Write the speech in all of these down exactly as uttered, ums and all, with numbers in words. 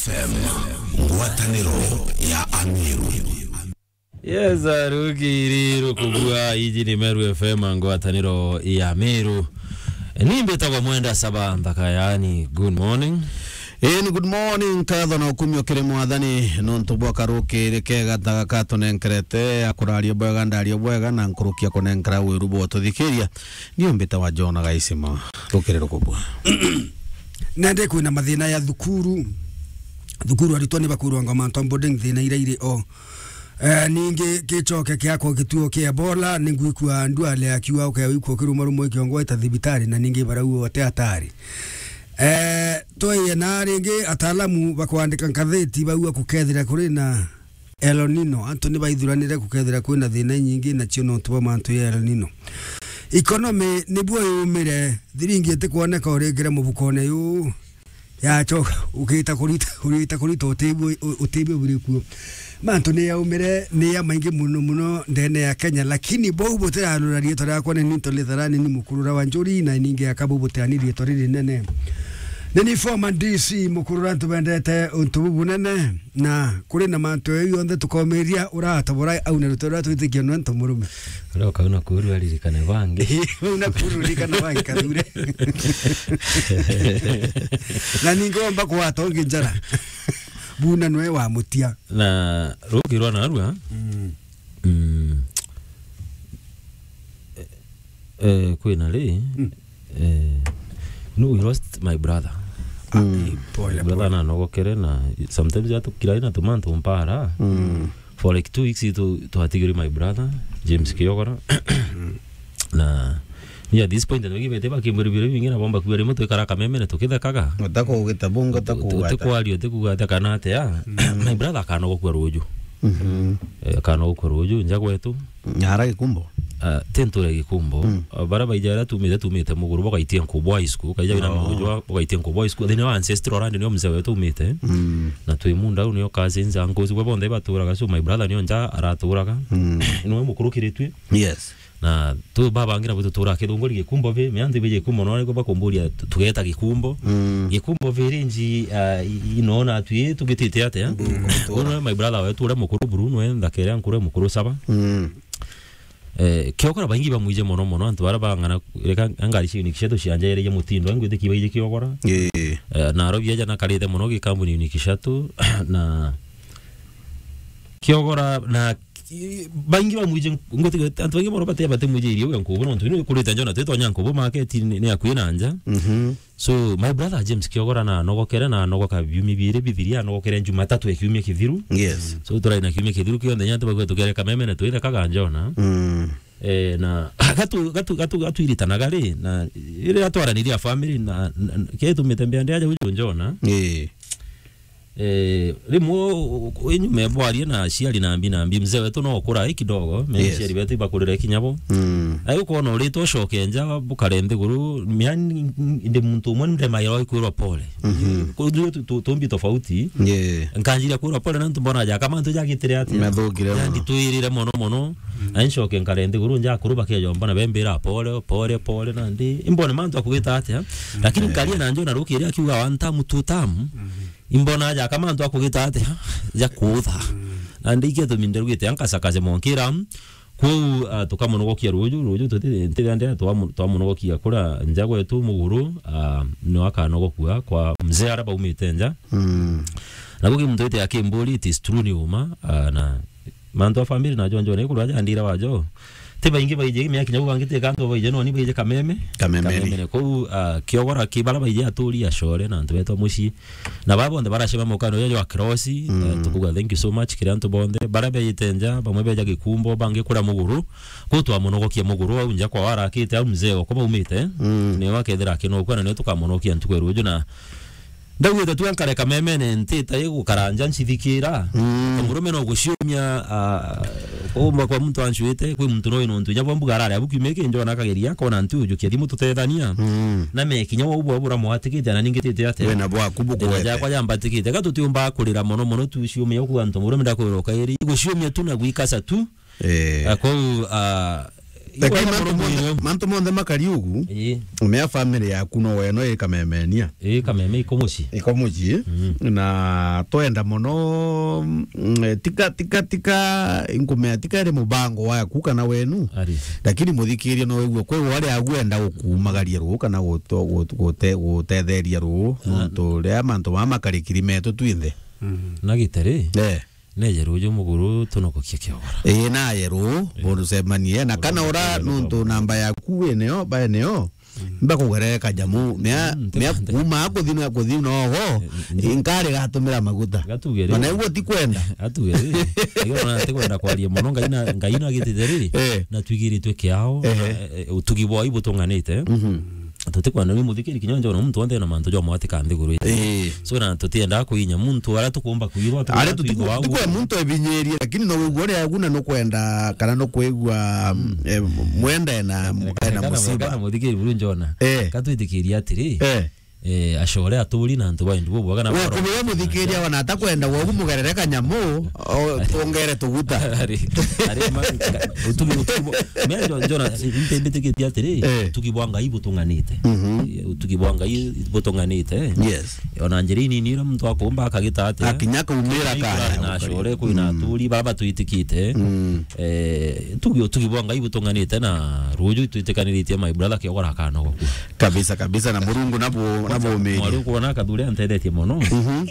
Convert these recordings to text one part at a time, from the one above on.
F M, ngwataniro ya Amiru. Yes, arukiri rukubua, iji ni Meru F M, ngwataniro ya Meru. Ni mbitagwa Mwenda Saba Nthaka, yani, good morning. Ii, ni good morning, nkatho na ukumio kiri Mwathani, nontu bwa karukiri kega ta gaka tunenkerete, akuraria bwega, ndaria bwega, na nkurukia kunenkera wiru bwa ututhikiria. Ni mbitagwa John Gaisima, rukiri rukubua. Nende kwina mathina ya thukuru. Thukuru aritwa ni bakurwangwa mantu a boarding thina ira iri o. Eh, ningi gicoke kiakwa gituo kia Ebola, ni ngwikua ndwale akiuga ukewikua ukirumarumwa ikiongo eta thibitari, na ningi barau ote atari. Eh, tweye na ringi ataalamu bakwandika ngatheti bauga kukethira kuri na El Nino, antu ni baithuranire gukethira kwina thina inyingi, nacio nontu bwa mantu ya El Nino. Economy nibuo yumire, thiringi itikwoneka uringire mubukone yu, yacoka ugita kurita, ugita kurita utibio, utibio buri kuo. Mantu ni yaumire, ni ya maingi muno muno ndene ya Kenya, lakini bau butiranura riitwa riakwa ni Nito Litharani, ni mukurura wa njuri, na ningi aka bau butiani riitwa riri nene. Ni ni former D C mukurura, antu bendete untu bu bunene. Na kuri na mantu jau jonthe tukomiria, uratobora au na ruto ruria twitikia nwe nto murume. Uria ukau na kuru aririkane bangi. Au na kuru ririkane bangi kathure. Na ningi womba kugwata ungi njara. Buna nwe wa mutia. Na ruki rwa narua. Mm. Mm. Eh, eh, kwina ri? Mm. Eh, no, we lost my brother. Ah, mm, eh, pole, brother pole. Na nogokere na sometimes ya tukira ina tumantu mpara. Mm. For like two weeks tu, twatigiri my brother, James Kiogora. Mm. Na ni at this point, ndio gibete ba kimbere bire bingi na bomba kuwa rimwe twikara kameme na tukithekaga. Utako ugita bunga, utako ugata. Utikwaria, utikuga ati kana ati ya. Mm. My brother akanogokua ruju. Mhm. Eh, akanogokua ruju, nja gwetu. Nyara Gikumbo? Ah, ti nture Gikumbo. Mm. Ah, bara baija aria tumite, tumite Muguru, bagaitie Nkubu High School, kaija wina, oh, Muguru jwa, bagaitie Nkubu High School. Thini wa ancestral land nio mzee wetu umite. Mm. Na twi munda au nio cousins, uncles bwe bonthe baturaga, so my brother nio nja araturaga. Mm. Niwe mukuru kiri twi. Yes. Na tu babangira bwitu tura Kithunguri Gikumbo vi, mianthi bi Gikumbo no niko bakumburia tu-, tugeta Gikumbo. Mm. Gikumbo vi rinji, ah, i-, ino na twi tugitite atia? Mm. Uno my brother wetu uria mukuru Bruno, e nthakere ankuru mukuru Saba. Mm. Eh, Kiogora baingi bamwije mono mono, antu bara bang'ana, reka ngari cia Unique Shuttle cianjererie mutindo, ngwitikia baije Kiogora. Ii. Eh, na arobi aja nakarite mono gikambuni Unique Shuttle, na Kiogora, na ki-, baingi bamwije, ngwitikia antu baingi mono bate, batemwije irio ya Nkubu, nontu ni kurite njona, twitonya Nkubu market ni, ni akui na nja. Mhm. So, my brother James Kiogora na nogokere na nogoka biumia biiri bithiria, nogokere Jumatatu ya kiumia kithiru. Yes. So, turai na kiumia kithiru kionthe, nya tubagwe tukere kameme na twithekaga njona. Mm. Eh, na gatu, gatu, gatu, gatuiritanaga ri, na iri atwaraniria family na, na, na, kitumite mbea ndi aja uju njona. Eh. Eh, rimwe u-, u-, inyume bwarie na aciari na mbi na mbi, mzee wetu no ukura i kidogo, me, yes, aciari betu ibakurire kinya bo. Mm. Ai ukoona urite ucoke nja, bukare nthiguru, miani ndi muntu umwe ndemairwa ikwirwa pole. Mhm. Ku-, tu-, tu-, tumbi tofauti. Yeah. Nkanjiria kwirwa pole, na ntu mbona ja kama ntu jagitire atia? Mathugire mono. Nandi twirire mono mono. Mm. Na ncoke nkare nthiguru, nja akuru bakejomba na bembira pole, pole, pole, nandi imbone mantu akugita atia? Mm. Lakini, eh, nkaria na njo na rukiri akiuga one term, two term. Mhm. Imbona aja kama antu akugita atia, ja kuutha. Mm. Na ndikie tuminderugite ankasakaje monkira. Kwou, ah, tukamunogokia ruju, ruju tuti, ntiria ndia twamu-, twamunogokia kura nja gwetu Muguru, ah, no akanogokua kwa mzee ara baumite nja. Mm. Na guki muntu ite akimburi, it is true ni uma, ah, na mantu a family na jonjo ni kurwa jandira wajo. Ti baingi baije, miaka kinya bangi ti kantu baije, no ni baije kameme. Kameme. Kameme ni. Kou, ah, Kiogora ki bara baije aturi acore na antu betwa mucii. Na baba bonthe baracema mukano uyu jwa cross, mm, eh, tukuga thank you so much kiri antu bonthe. Bara beite nja, bamwe beja Gikumbo, bangi kura Muguru. Kou twamunogokia Muguru au nja kwa warakite au mzee okwa baumite. Mm. Ni wakethira akinokua na ni tukamunogokia ntuku ya ruju na Ndaugite tu ankare kamemene, ntita igukara nja ncithikira. Mm. Kamurume no guciumia, ah, kuumba kwa muntu ancuite, kwi muntu no inontu inya bwa mbuga arare abu kiumia kingi, ona akageria, akona ntu ujukia thimu tutethania. Mm. Na me kinya wau bwa bura mwatikite, na ningi tite atia. Wena bwaku bukwete. Thina jakwa jambatikite. Ga tutiumba kurira mono mono tu ciumia uku antu murume ndakwira ukairi. Guciumia tu na gwikasa tu. Eh. Ah, kwou, ah, Lakini mantu monthe, mantu monthe makari ugu, ii, mea family yaku no weno ikamemenia. Ii, kameme iko mucii. Iko mucii. Mm. Na twenda mono, mm, tika, tika, tika, inkumea tika iri mubango waku kana wenu. Ari. Lakini muthikiria no wigua kwi wari agu enda gukumagaria ruu kana guto-, gut-, gute-, gutetheria ruu, ah, nontu ria mantu mama makarikiri metu twinthe. Mm. Na gitari? Eh. Neje ruju muguru tunokokie kiogora. Ii, naye ruu, eh, burucemanie. Na kana ura nontu namba yaku wi nio, bae nio, mm, mbakugerere kanyamu. Mea, mm, mea kuma kuthi na kuthi nogo, eh, mm, inkari gatumira maguta. Gatugere. Ona iguo ti kwenda. Atugere. Iyo na ti kwenda kwaria mono, Ngai na, Ngai na gitite ri, eh, na twigiritwe kiao, eh, eh, utugi bwa ibutung'anite. Mhm. Tutikwenda ni muthikiri kinya njona muntu wonthe na mantu jwa mwatika nthiguru ii. Ii. So, na tutiendaa kuinya muntu aria tukumba kwirwa, ari tukwigua tuku-, tukwe muntu ebinyirie, lakini no wigua uria aguna nukwenda kana nukwigua, mm, eh, mwende na, eh, mukae na kana, musima. Kana muthikiri buru njona. Eh. Katwitikiria atiri, eh, eh, acore aturi na antu ba endi bubwaga na we baro. Kumenya muthikiria wana atakwenda gwogu mugerere kanyamu, o, twongere tuguta. Ari, ari, ma-, utugi, utugi bo-, mea njo-, njona, nte-, mbitikitie atiri, eh, utugi bwa Ngai butung'anite. Mhm. Eh, utugi bwa Ngai butung'anite. Yes. Ona njira inini ira muntu akumba akagita atia. Akinya kaumira kaya. Na acore kwina, mm, aturi, bara batwitikite. Mm. Eh, tugi, utugi bwa Ngai butung'anite na ruju twitikaniritie my brother kiogora akanogo ku. Kabisa, kabisa, na Murungu nabo, nabo umiri. Mwari ukwona Kathuri antethetie mono. Mhm.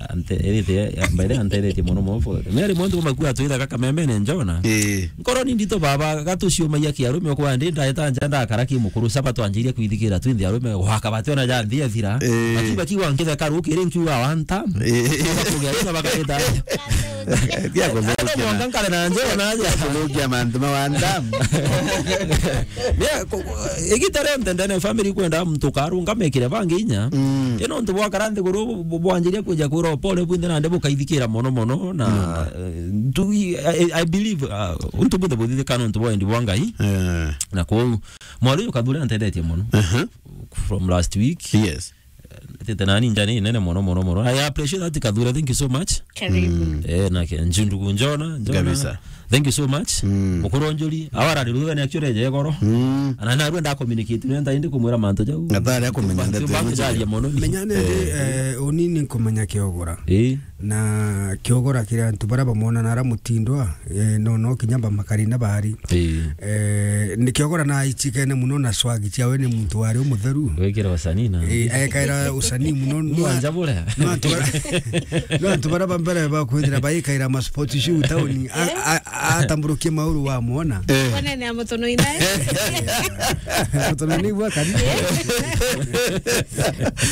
Ante-, erite, mbere antethetie mono mono. Mary mwantu kuma kwa twithaga kamemene njona. Ii. Nkoro ni ndito baba, gatuciumagia kiarume kwa ndi ndaeta nja ndakara ki mukuru saba twanjirie kwithikira twinthe arume gwaka bati ona ja nthi ethira. Ii. Bati baki wa nkithe karu kiri nkiuga wanta. Ii. Kugia ina bakarita. Tia kuthukia. Mwanka nkare na njona aja. Kuthukia mantu ma wanta. Mea, ku-, ku-, igita rionthe ndene family kwenda muntu karunga mekire bangi inya. Mm. Ino ntu bwakara nthiguru bu-, bu-, bwanjiria kwija kwira upole bwinthe nandi bukaithikira mono mono na, mm, eh, ntu-, I, I, I believe, uh, untu bwinthe buthithika nontu bwa wendi bwa Ngai. Eh. Na kwou, mwari uyu Kathuri antethetie mono. Aha. From last week. Yes. Tete nani njani nene mono, mono, mono. I appreciate that, Kathura. Thank you so much. Karibu. Mm. Eh, na ke, njundugu njona, njona. Kabisa. Thank you so much. Mm. Mukuru njuri, awara riruga ni actually je goro. Mm. Ana na rwenda communicate, nenda indi kumwira mantu jau. Atari akumenya ndeto. Mantu jaria mono ni. Menyane, eh, eh, unini nkumenya kiogora. Eh. Na kiogora kiri antu bara bamwona na ara mutindwa, eh, no, no kinya bamakari na bari. Ii. Eh, ni kiogora na aichikene muno na swag ciawe ni muntu wari umutheru. Gwikira wasanii na eh, ekaira usanii muno. Mwanja buria. No antu bara, no antu bara ba mbere ba kwithira baikaira ma sports shoe town. A, a, atamburukie mauru wa mwona. Eh. Wanene ya mutono inae. Mutono ni gwa kari.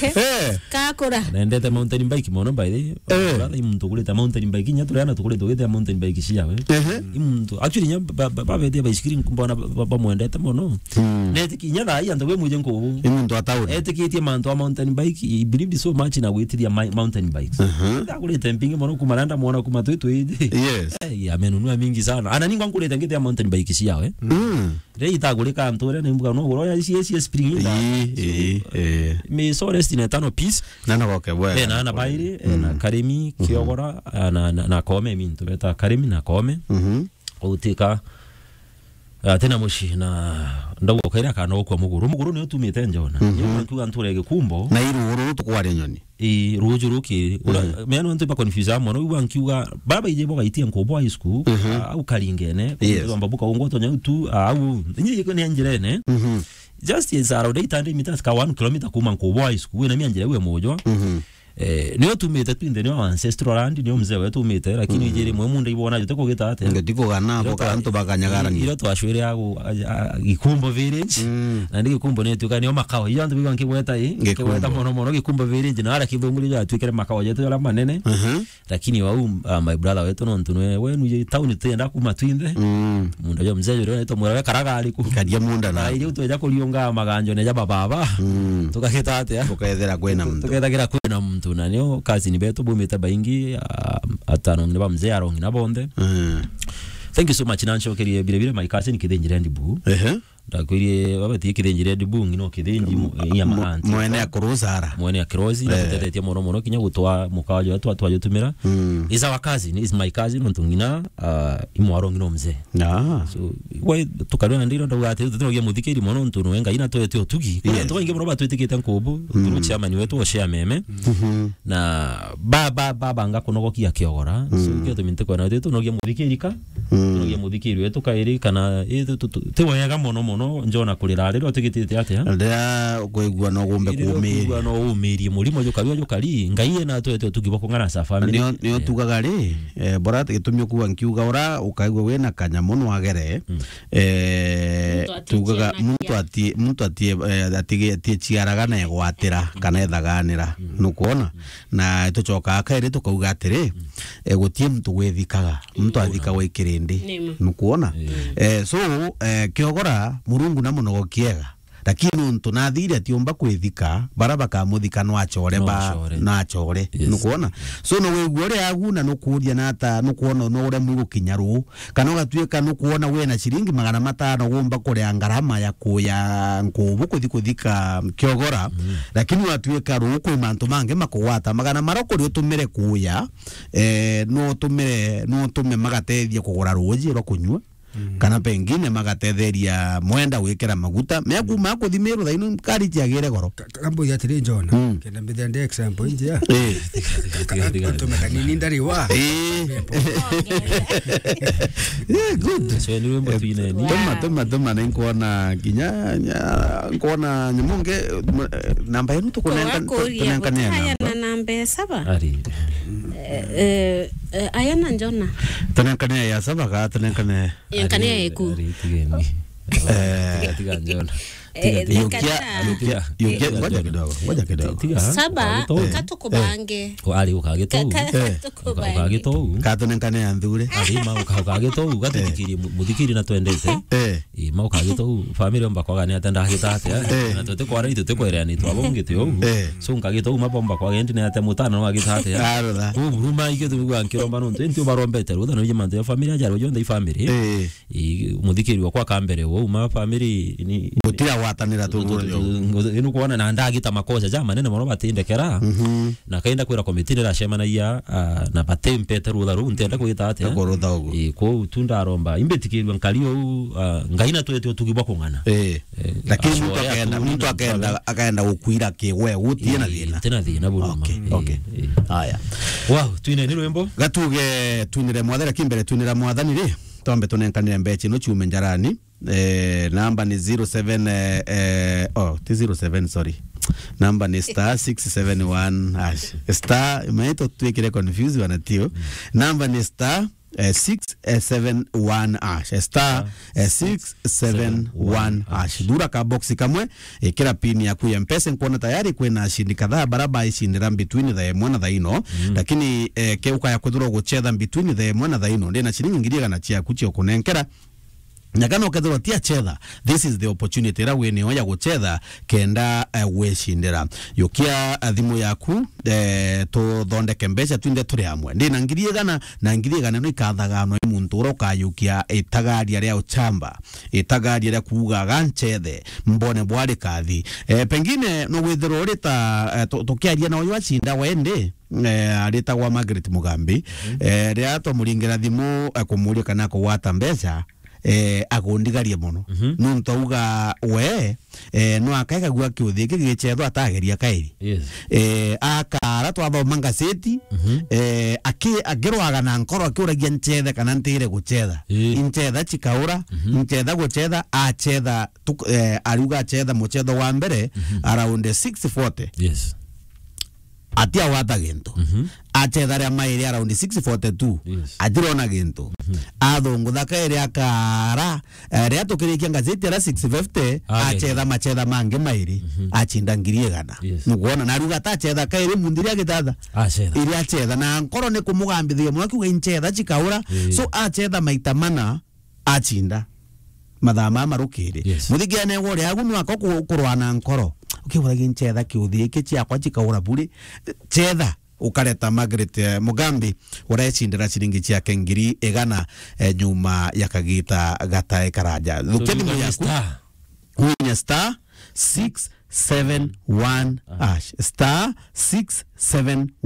Eh. Kakura. Nendete mountain bike mono, by the way. Eh. Brother, i muntu ugurite mountain bike, inya turiana tukurite ugite mountain bike ciawe. Ehe. I muntu, actually, inya ba-, ba-, babetie baisikiri nkumbona ba-, ba-, bamwendete mono. Mm. Netiki-, inya thaa ii antu bemwije nkubu. I muntu atauri. Etikitie mantu a mountain bike, he believed so much na gwitiria ma-, mountain bikes. Aha. Agurite mpingi mono kuma randa mwona kuma twi twiji. Yes. Eh, amenunua mingi sana. Ana ningwa nkurite ngite ya mountain bike ciawe. Mm. Riria itagurika antu uria ni mbuga no goro ya C S S spring inda. Ii, ii, ii. Mi so rest in eternal peace. Na na goke bwega. Eh, na na bairi, eh, na Karimi, Kiogora, ah, na, na, na Kome, mi ntu beta Karimi na Kome. Mhm. Utika, ah, tena muci na ndauga ukaira kana ukwa muguru. Muguru ni utumite njona. Mhm. Ni nkiuga nture gikumbo. Na iru uru tukware nyoni. Ii, ruju ruki, ura, mm, mea nontu ba confuse mono, igua nkiuga, baba ije bo gaitie nkubu high school, mhm, ah, au Karingene, yes, kwamba buka ungo tonya tu, ah, au, inyi iko ni njirene. Mhm. Just is around eight hundred meters ka one kilometer kuma nkubu high school, na mia njire we mujwa. Mhm. Eh, nio tumite twinthe, nio ancestral land, nio mzee wetu umite, lakini, mm, ijiri mwe munda ibona jute kugita ate. Ngetiko gana bo kantu bakanyagarani. Iro twashwire agu, a, a, Gikumbo village. Mm. Na ndi Gikumbo ni tuka nio makao. Iyo antu bigwa nkigweta i, Gikumbo. Nkigweta mono mono Gikumbo village na ara kithunguri ja twikire makao jetu jara manene. Mhm. Lakini wau, ah, my brother wetu no ntu nwe, we nuje town tenda kuma twinthe. Mm. Munda jo mzee jore to mwera karaga ariku. Kadia munda na. Na ile utweja kuriunga maganjo ne ja baba. Mm. Tukageta ate. Tukethera kwena muntu. Tukethera kwena muntu na nio cousin betu bumite baingi, ah, atano ngine ba mzee arongi na bonthe. Mm. Thank you so much, na ncokerie bire bire my cousin Kithinjire Ndibu. Ehe. Ndakwirie, baba, ti kithinji Red Bull, no kithinji mu-, ya ma auntie. Mwene ya Kurusara. Mwene ya Kirosi, na tutethetie mono mono, kinya gutwa mukawa jwa twa, twajutumira. Mm. Is our cousin, is my cousin, nontu ng'ina, ah, imwaro ng'ina mzee. Ah. So, we, tukarua na ndiro, ndauga ati, tutinogia muthikiri mono, nontu nwe Ngai na twete utugi. Kuna antu baingi mono batwitikite nkubu, through chairman wetu o Shea Meme. Mhm. Na ba, ba, ba, banga kunogokia Kiogora. So, kio tumi ntikwenda, tunogia muthikiri ka, tunogia muthikiri wetu kairi, kana, eh, tu, tu, tu, ti wega mono mono, njona kurira riri utigitite atia? Riria ukwigua no gumbe kuumiria. Riria ukwigua no uumirie murimo jukari, jukari, Ngai ena twete utugi bwa kung'ana sa family. Nio, nio tugaga ri, eh, bora gitumi ukuga nkiuga ura, ukaigua wina kanyamu nwagere, eh, tugaga muntu atie, muntu atie, eh, atige, atie ciaraga na egwatira, kana ethaganira. Nukwona? Na tucokaga kairi tukauga atiri, eh, gutie muntu gwithikaga, muntu athikagwa ikirindi. Nima. Nukwona? Eh, so, eh, Kiogora, Murungu na munogo kiega. Lakini nontu nathire atiumba kwithika, bara bakamuthika no acore ba, no acore. Yes. Nukwona? So, no wigua uri agu na nukuria na ata, nukwona no uremwe gukinya ruu. Kana ugatuika nukwona wina ciringi magana matano gumba kuria ngarama ya kuya nkubu kuthi kuthika Kiogora, lakini watuika ruu kwi mantu mangi makugwata. Magana mara ukuri utumire kuya, eh, no utumire, no utume magatethia kugura ruuji rwa kunyua, kana pengine magatetheria mwenda gwikira maguta. Mea kuma kuthi Meru thaino ngari ciagire goro. Ka-, ka-, kambuge atiri, John, kenda mbithira ndi example njia. Eh. Tiga, tiga, tiga, tiga. Ka-, ka-, kanini ndari wa. Eh. Yeah, good. So, ni rwimbo twineni. Tuma, tuma, tuma, ni nkuona kinya, nya-, nkuona nyamu nge, m-, eh, namba yenu tukunenga-, tunenkane namba. Aya na namba ya saba. Ari. Eh, eh, eh, aya na Jona. Tunenkane ya saba ka tunenkane. Yenkania yeku. Ari, tigeni. Eh. Tiga, tiga, Jona. Eh, tiga, tiga. Yukia, yukia, yukia. Ngoja kidogo, ngoja kidogo. Tiga. Saba, katukubange. Ari ukagitou. Ka-, ka-, katukubange. Ukagitou. Katunenkane ya nthure. Ari ma uka-, ukagitou, gatutikirie mu-, muthikiri na twendete. Eh. Ii, ma ukagitou, family omba kwaga ni ata ndagita atia. Eh. Na tutikwara ni tutikwereani twabongi ti ou. Eh. So nkagitou ma bomba kwaga ndi ni ata mutana no agita atia. Arotha. Ku buruma ikio tumigwa nkiromba nontu, nti ubarombete rutha no mantu ya family aja rojo ndai family. Eh. Ii, muthikiri wakwa kambere wo, uma family ni gutira gwatanira tu tu, tu, tu, tu, inu kuona na ndagita makosa ja manene mono batindekera. Mhm. Na kainda kwira committee niracemanagia, ah, na batimpete rutha ruu, ntienda kwita atia. Kurutha ugu. Ii, kwou tu ndaromba. Imbitikirua nkari ou, ah, Ngai na twete utugi bwa kung'ana. Eh. Eh, lakini muntu acoya akenda, tu muntu na akenda, akaenda gukwira kigwe, gutie na thina. Ii, ti na thina buruma. Okay, okay. Ii. Haya. Wow, twine ni rwimbo? Gatuge twinire mwathani, lakini mbere twinira mwathani ri, twambe tunenkanire mbecha ino ciume njarani. Eh, namba ni zero seven, eh, eh, oh, ti zero seven, sorry. Namba ni star six seven one hash. Star, maito twikire confuse wana tio. Namba ni star, eh, six seven one hash. Star, eh, six seven one hash. Thura ka box kamwe, ikira pin yaku ya Mpesa, nkuona tayari kwina ashindi kadhaa bara baicindira between thaa imwe na thaa ino. Mm. Lakini, eh, ke ukaya kwithirwa guchetha between thaa imwe na thaa ino, ndina ciringi ngiri igana ciaku cia kunenkera. Na kana ukethirwa ti achetha, this is the opportunity ira winio ya guchetha kenda, eh, gwicindira. Yukia, eh, thimu yaku, eh, tuthondeke mbeca twinthe turi amwe. Ndina ngiri igana, na ngiri igana ino ikathaganwa i muntu ura ukayukia itagaria ria uchamba, itagaria ria kuuga, "Ga nchethe, mbone bwari kathi." Eh, pengine no withirwa uri ta, eh, tu-, tukiaria na uyu acinda wendi, eh, aritagwa Margaret Mugambi, eh, riria twamuringira thimu, eh, kumuria kana akugwata mbeca, eh, agundigarie mono. Mhm. Nontu auga we, eh, no akaigagua kiuthi giki gicethwa atageria kairi. Yes. Eh, akara twathoma ngaceti, mhm, eh, aki-, akirwaga na nkoro akiuragia nchethe kana ntire guchetha. Ii. Inchetha chikaura, mhm, nchetha guchetha, achetha tuk-, eh, ariuga achetha muchetho wa mbere, mhm, around six forty. Yes. Atiagwata gintu. Mhm. Achetha ria mairi around six forty-two. Yes. Atirona gintu. Mhm. Athungutha kairi akara, eh, ria tukirikia ngazeti ara six fifty, achetha machetha mangi mairi, mhm, achinda ngiri igana. Yes. Nukwona, na ariuga atachetha kairi mundi ria gitatha. Achetha. Iri achetha, na nkoro ni kumugambithiria mono, akiuga inchetha chikaura. Ii. So achetha maita mana, achinda mathaa maya marukiri. Yes. Muthikiane wore agu nwaka ku-, kurwa na nkoro. Ukiuragia nchetha kiuthi giki ciakwa cikaura buri. Chetha, ukareta Margaret, eh, Mugambi, urecindira ciringi ciake ngiri igana, eh, nyuma ya kagita gatae karaja. Thukia thimu yaku. Star. Winya star six seven one hash. Star six seven